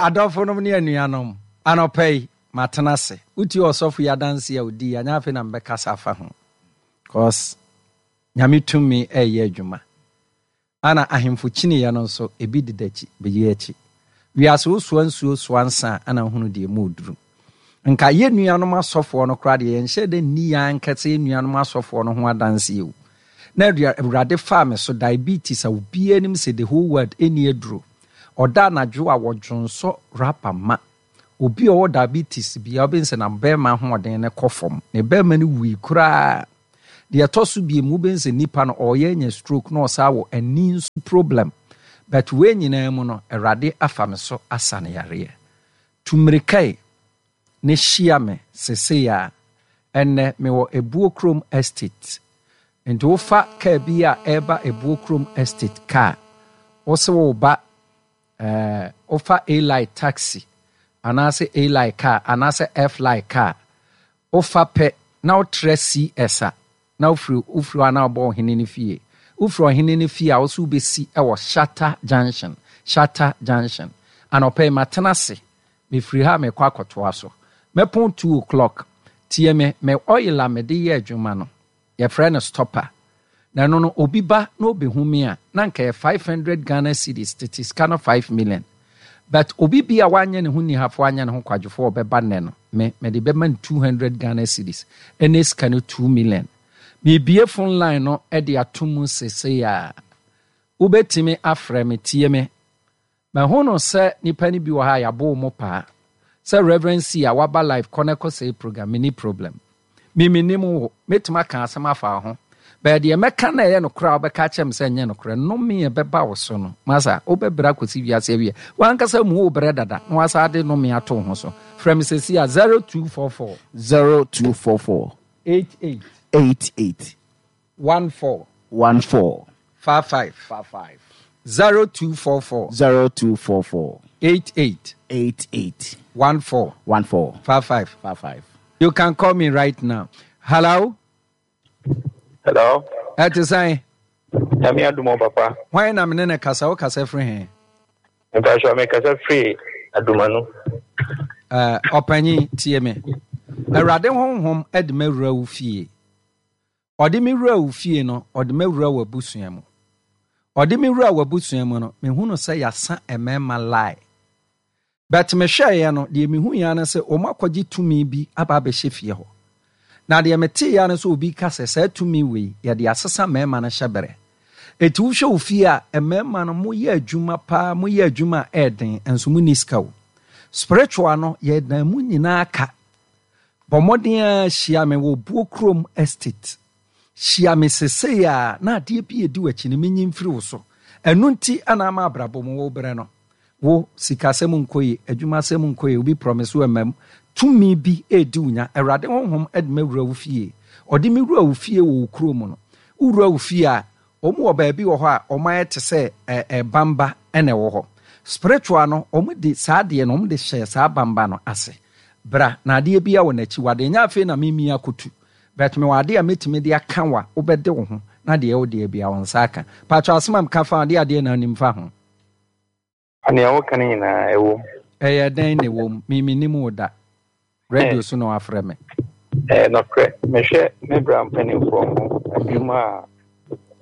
Adɔfonom ne anuanom, anɔpa yi, Matena ase. Wotie ɔsɔfo yi adanse a odii a, nyɛ afei na mebɛkasa afa ho. Cause Nyame tumi ɛreyɛ adwuma. Ana ahemfo kyiniiɛ no nso, ebi deda akyi, bɛyi akyi. Wiase wosoa nsuo soa nsa a, ana wohunu deɛ emu reduru. Nka yɛn nuanom asɔfoɔ no koraa deɛ, yɛnhyɛɛ da nni yɛn ankasa yɛn nuanom asɔfoɔ no ho adanseɛ o. Na Awurade faa me so, diabetes a obiara nim sɛ the whole world ɛnni aduro. Ɔda anadwo a wɔdwonsɔ rubber ma. Obi a ɔwɔ diabetes biara, wobɛhu sɛ n'abɛɛma ahoɔden no kɔ fam. Ne bɛɛma no wui koraa. Deɛ ɛtɔ so biem, wobɛhu sɛ nipa no ɔreyɛ anya stroke na ɔsan wɔ ani nso problem. But wei nyinaa mu no, Awurade afa me so asa no yareɛ. Tu mmirika yi na hyia me sesei ara. Ɛnnɛ mewɔ Ebuo Kurom Estate. Nti wofa kaa bi a ɛreba Ebuo Kurom Estate kaa, wose woreba Ɛɛ, wofa A-line taxi anaasɛ A-line car anaasɛ F-line car, wofa pɛ na wotra CS a, na wofiri wofiri hɔ a na wobɔ ɔhene no fie. Wofiri ɔhene no fie a, wo nso wobɛsi wɔ Shatta Junction, Shatta Junction. Anɔpa yi matena ase, mefiri ha a merekɔ akɔtoa so. Mɛpɔn 2:00. Tie me, me oil a mede yɛ adwuma no, Yɛfrɛ no stopper. Na ɛno no obi ba na ɔbɛhu me a, na anka ɛyɛ 500 Ghana cedis, tete sika no 5 million. But obi bi a wanyɛ ne ho nnihafoɔ anyɛ ne ho kwadwofoɔ a ɔbɛba nnɛ no, me, mede bɛma no 200 Ghana cedis, ɛnɛ sika no 2 million. Merebue phone line no de ato mu seesei ara. Wobɛtumi afrɛ me, tie me. Mahu no sɛ nipa no bi wɔ ha a yɛabo wɔn paa. Sɛ Reverend C a waba live kɔ na kɔ sɛe program, menni problem. Me mennim wo, mɛtumi aka asɛm afa wo ho. Bɛyɛ deɛ mɛka na ɛyɛ nokorɛ a wobɛka akyerɛ me sɛ ɛnyɛ nokorɛ. Nnome a ɛbɛba wo so no, masa, wobɛbrɛ akɔsi wiase awieɛ. W'ankasa mu wobrɛ dada na woasan de nnome ato wo ho so. Frɛ me seesei a, 0244. 0244. 88. 88. 14. 14. 55. 55. 0244. 0244. 88. 88. 14. 14. 55. 55. You can call me right now. Hello? Hello. Ɛte sɛn? Nyame adom o papa. Hwan na mene ne kasa? Wo kasa firi he? Mpakyɛ me kasa firi Adumanu. Ɔpanyin, tie me. Awurade honhom de m'awura wo fie. Ɔde me wura wo fie no, ɔde m'awura w'abusua mu. Ɔde me wura w'abusua mu no, mehunu sɛ yɛasa mmarima lie. But mehwɛeɛ no, deɛ mehuiɛ ara ne sɛ wɔakɔgye tumi bi aba abɛhyɛ fie hɔ. Na deɛ meteeɛ ara ne sɛ obi reka sɛ saa tumi wei, yɛde asesa mmarima no hyɛberɛ. Enti wohwɛ wo fie a, mmarima no moyɛ adwuma paa, moyɛ adwuma a ɛyɛ den, nso monni sika o. Spiritual no, yɛdan mu nyinaa ka. Bɔ mmɔden ara hyia me wɔ Buo Kurom Estate. Hyia me sesei ara na adeɛ bi a ɛdi w'akyi no menyi mfiri wo so. Ɛno nti na ama abrabɔ mu wobrɛ no. Wo, sikasɛm nkɔ yie, adwumasɛm nkɔ yie, obi promise wo ɛmma mu. Tumi bi redi wo nya. Awurade Honhom de me awura wo fie. Ɔde me wura wo fie wɔ wo kuro mu no. Wowura wo fie a, wɔn wɔ baabi wɔ hɔ a wɔn ayɛ te sɛ ɛ bamba na ɛwɔ hɔ. Spiritual no, wɔn de saa adeɛ no, wɔn de hyɛɛ saa bamba no ase. Bra, na adeɛ biara wɔ n'akyiwadeɛ. Ɛnyɛ afei na mimi akɔtu. But mewɔ adeɛ a mɛtumi de aka wo a, wobɛde wo ho na deɛ ɛwɔ wo deɛ biara wo nsa aka. Paatwɔ asɛm a meka fa ho, adeɛ adeɛ na wonim fa ho? Nea woka no nyinaa, ɛwom. Ɛyɛ dɛn na ɛwom? Me mennim wo da. Radio so na wɔafrɛ me. Ɛyɛ nokorɛ. Mehwɛ me bra mpanimfoɔ ho adwuma a,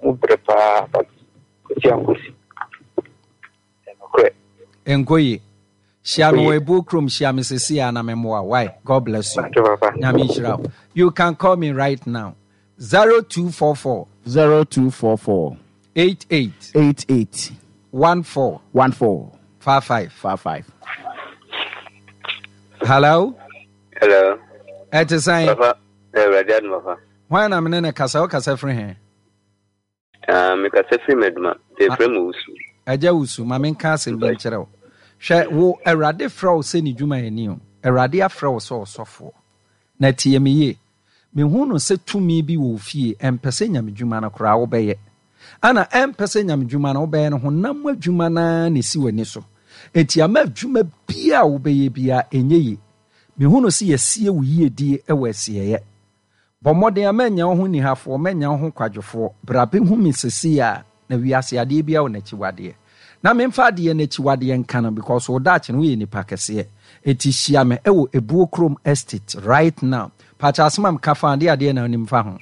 wɔn brɛ paa but kɔsi ankosi. Ɛyɛ nokorɛ. Ɛnkɔ yie. Hyia me wɔ Ebuo kurom, hyia me sesei ara na memmoa wo. Why? God bless you. Nyame nhyira wo. You can call me right now. 0244. 0244. 88. 88. 14. 14. 55. 55. Hello. Hello. Ɛte sɛn? Papa, Awurade adom papa. Hwan na mene ne kasa? Wo kasa firi he? Ah, me kasa firi m'adwuma. Yɛfrɛ me Wusu. Agya Wusu, ma menka asɛm bi nkyerɛ wo. Hwɛ, wo Awurade frɛ wo sɛ ne dwumayɛni o. Awurade afrɛ wo sɛ ɔsɔfoɔ. Na tie me yie. Mehu no sɛ tumi bi wɔ wo fie, ɛmpɛ sɛ nyamedwuma no koraa wobɛyɛ. Ɛna ɛmpɛ sɛ nyamedwuma no wobɛyɛ no, honam mu adwuma no ara na ɛsi w'ani so. Enti ama adwuma biara a wobɛyɛ biara ɛnyɛ yie. Mehu no sɛ yɛasie wo yiedie wɔ asieeɛ. Bɔ mmɔden a mɛnyɛ wo ho nihafoɔ, mɛnyɛ wo ho kwadwofoɔ. Bra bɛhu me sesei a, na wiase adeɛ biara wɔ n'akyiwadeɛ. Na memfa adeɛ no akyiwadeɛ nka no because wo daakye no woyɛ nipa kɛseɛ. Enti hyia me wɔ Ebuo kurom estate right now. Pakyɛ asɛm a meka fa adeɛ adeɛ na wonim fa ho?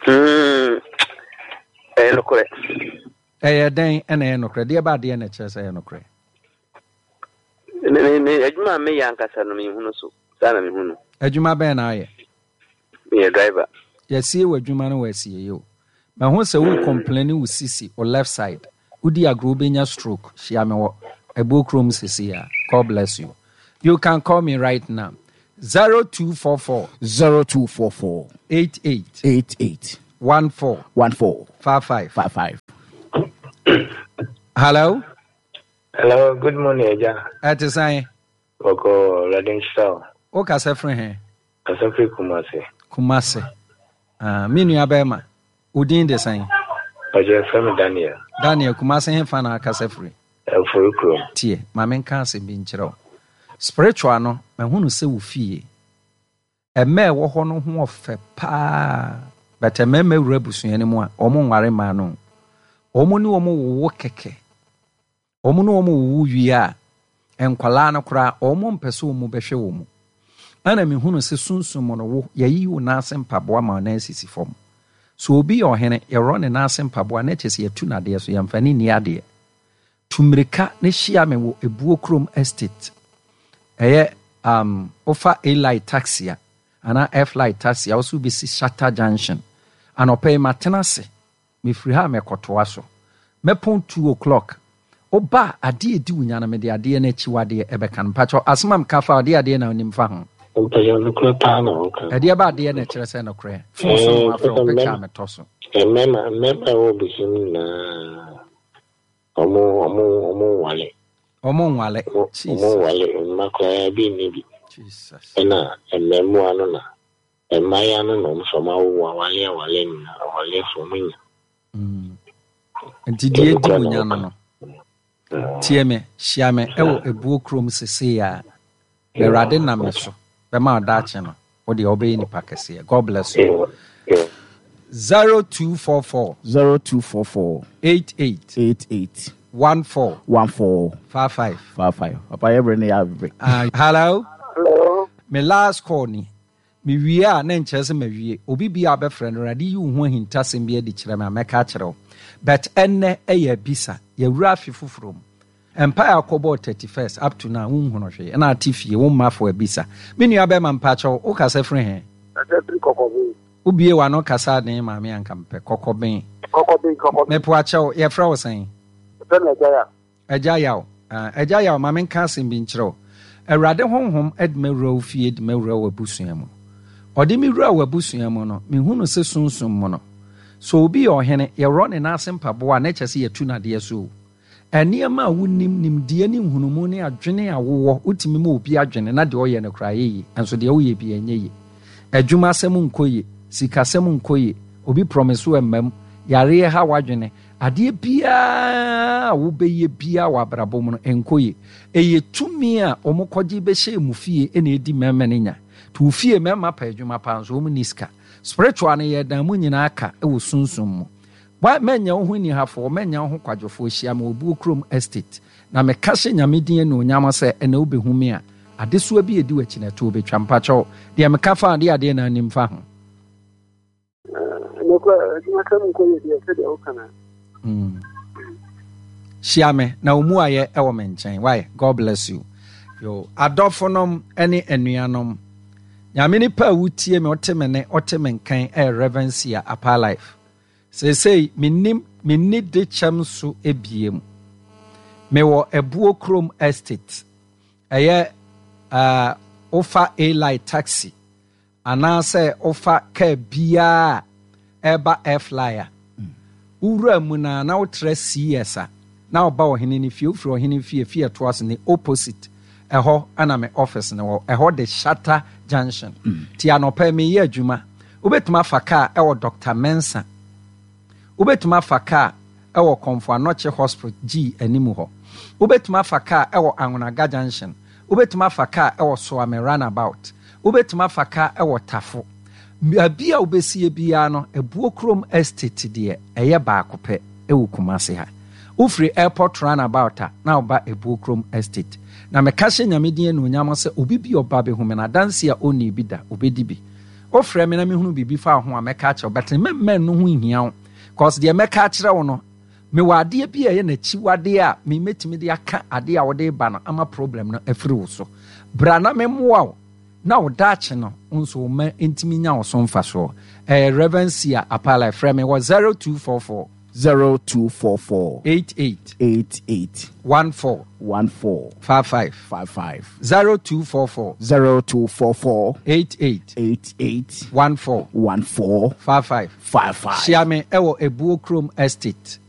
Mm, ɛyɛ nokorɛ. Ɛyɛ dɛn na ɛyɛ nokorɛ? Deɛ ba adeɛ na ɛkyerɛ sɛ ɛyɛ nokorɛ? Me, me, me, adwuma a meyɛ ankasa no menhunu so. Saa na mehu no. Adwuma bɛn na ayɛ? Meyɛ driver. Yɛasie w'adwuma no wɔ asieeɛ o. Mahu sɛ wo complaini wo sisi, wo left side. Wodi agorɔ wobɛnya stroke. Hyia me wɔ Abuo kurom seesei ara. God bless you. You can call me right now. 0244. 0244. 88. 88. 14. 14. 55. 55. Hello. Hello, good morning, Agya. Ɛte sɛn? Bɔkɔɔ, Awurade nhyira wo. Wo kasa firi he? Kasa firi Kumasi. Kumasi. Ah, me nua bɛrima, wo din de sɛn? Ɔkyerɛ frɛ me Daniel. Daniel, Kumasi he fa na akasa firi? Ɛfori kurom. Tie, ma menka asɛm bi nkyerɛ wo. Spiritual no, mahunu sɛ wo fie, ɛmɛ ɛwɔ hɔ no ho ɔfɛ paa, but mmarima wura abusua no mu a, wɔn nware mmaa no. Wɔn ne wɔn wowo kɛkɛ. Wɔn ne wɔn wowo wie a, nkwadaa no koraa, wɔn mpɛ sɛ wɔn bɛhwɛ wɔn mu. Ɛna mehunu sɛ sunsum mu no, wo, yɛayiyi wo nan ase mpaboa ma wo nan asisi fam. So obi yɛ ɔhene, yɛworɔ ne nan ase mpaboa na kyerɛ sɛ yɛatu no adeɛ so, yɛmfa no nni adeɛ. Tu mmirika na hyia me wɔ Ebuo Kurom Estate. Ɛyɛ um, wofa A-Light taxi a, anaa F-Light taxi a, wo so wobɛsi Shatta Junction. Anɔpa yi matena ase. Mefiri ha a mɛkɔtoa so. Mɛpɔn two o'clock. Woba a, adeɛ a ɛdi wo nya no, mede adeɛ no akyiwadeɛ ɛbɛka no. Mpakyɛw, asɛm a meka fa adeɛ adeɛ na wonim fa ho? Mpakyɛw nokorɛ paa na woka no. Ɛdeɛ ba adeɛ na ɛkyerɛ sɛ nokorɛ. Fon so na wafrɛ wo picture a metɔ so. Mmarima mmarima a ɛwɔ abusua mu nyinaa ɔmo ɔmo ɔmo nwale. Ɔmo nwale. Ɔmo nwale mma koraa bi nni bi. Ɛna mmaamua no na mmaayewa no na ɔmo sɛ ɔmo awowo awale awale nyinaa awale so ɔmo nya. Nti deɛ edi mo nya no no. Tie me, hyia me ɛwɔ Ebuo kurom sesei a. Awurade nam me so bɛma wo daakye no wo deɛ wobɛyɛ nipa kɛseɛ. God bless you. 0244. 0244. 88. 88. 14. 14. 55. 55. Papa yɛ bere ne yɛ abere. Hello. Hello. Me last call ni. Me wie a na nkyerɛ sɛ mawie. Obi bi a bɛfrɛ no Awurade yi wo ho ahintasɛm bi adi kyerɛ me a mɛka akyerɛ wo. But ɛnnɛ ɛyɛ abisa. Yɛwura afe foforɔ mu. Mpae a wokɔbɔɔ 31st up to now wonhunu hwee ɛna ate fie wo mma fo abisa. Me nua bɛɛma mpakyɛw wo kasa firi he? Kasa firi Kɔkɔben. Wo bie w'ano kasa den maame anka mepɛ Kɔkɔben. Kɔkɔben Kɔkɔben. Mepoakyɛw yɛfrɛ wo sɛn? Yɛfrɛ me Agya Yaw. Agya Yaw ah Agya Yaw ma menka asɛm bi nkyerɛ wo. Awurade honhom de mawura wo fie de mawura w'abusua mu. Ɔde me wuraa w'abusua mu no mehunu se sunsum mu no sɛ obi yɛ ɔhene yɛworɔ ne nan ase mpaboa a na ɛkyɛ sɛ yɛtu no adeɛ so o. Nneɛma a wunim, nimdeɛ ne nhunumu ne adwene a wowɔ, wotumi ma obi adwene na deɛ ɔyɛ no koraa yɛ yie, nso deɛ woyɛ biara ɛnyɛ yie. Adwumasɛm nkɔ yie, sikasɛm nkɔ yie, obi promise wo ɛmma mu, yareɛ ha w'adwene, adeɛ biara a wobɛyɛ biara wɔ abrabɔ mu no ɛnkɔ yie. Ɛyɛ tumi a wɔkɔgye bɛhyɛɛ mo fie na ɛdi mmarima no nya. Nti wo fie mmarima pɛ adwuma paa nso wɔn nni sika. Spiritual no yɛdan mu nyinaa ka wɔ sunsum mu. Why mɛnyɛ wo ho anihafoɔ, mɛnyɛ wo ho kwadwofoɔ, hyia me wɔ Buo Kurom Estate, na meka hyɛ Nyame din anuonyam sɛ ɛnɛ wobɛhu me a, adesoa bi a ɛdi w'akyi no ɛtoɔ bɛtwa. Mpakyɛw, deɛ meka fa ho, deɛ adeɛ na anim fa ho? Nokorɛ, adwumasɛm nkɔ yie deɛ, sɛdeɛ woka no. Hyia me na wo muayɛ wɔ me nkyɛn. Why? God bless you. Yo, adɔfonom ne anuanom, Nyame nipa a wotie me, wote me ne, wote me nkan ɛyɛ Reverend Sia Apaa Life. Seesei mennim menni dekyɛm so ebiem. Mewɔ Abuo Kurom Estate. Ɛyɛ uh, wofa A-Line taxi anaasɛ wofa kaa biara a ɛreba Airfly a, wowura mu no a na wotra CS a na woba ɔhene no fie, wofiri ɔhene fie, fie ɛtoa so ne opposite ɛhɔ na me office no wɔ, ɛhɔ de Shatta Junction. Ti anɔpa yi meyɛ adwuma. Wobɛtumi afa kaa wɔ Dɔkta Mensah. Wobɛtumi afa kaa wɔ Komfo Anokye Hospital G anim hɔ. Wobɛtumi afa kaa wɔ Anwonaga Junction. Wobɛtumi afa kaa wɔ Soame Runabout. Wobɛtumi afa kaa wɔ Tafo. Baabi a wobɛsie biara no, Abuo Kurom Estate deɛ, ɛyɛ baako pɛ wɔ Kumasi ha. Wofiri Airport Runabout a, na woba Abuo Kurom Estate. Na meka hyɛ Nyame din anuonyam sɛ obi bi a ɔba bɛhu me no, adanseɛ a ɔnnii bi da, ɔbɛdi bi. Wofrɛ me na mehunu biribi fa wo ho a, mɛka akyerɛ wo, but mɛmma ɛno ho nhia wo, cause deɛ mɛka akyerɛ wo no, mewɔ adeɛ bi a ɛyɛ n'akyiwadeɛ a me mɛtumi de aka adeɛ a wode reba no ama problem no afiri wo so. Bra na memmoa wo na wo daakye no wo nso wo mma ntumi nya wo so mfasoɔ. Ɛyɛ Rev. Sia Apalai, frɛ me wɔ 0244. 0244. 88. 88. 14. 14. 55. 55. 0244. 0244. 88. 88. 14. 14. 55. 55. Hyia me ɛwɔ Ebuo Kurom Estate.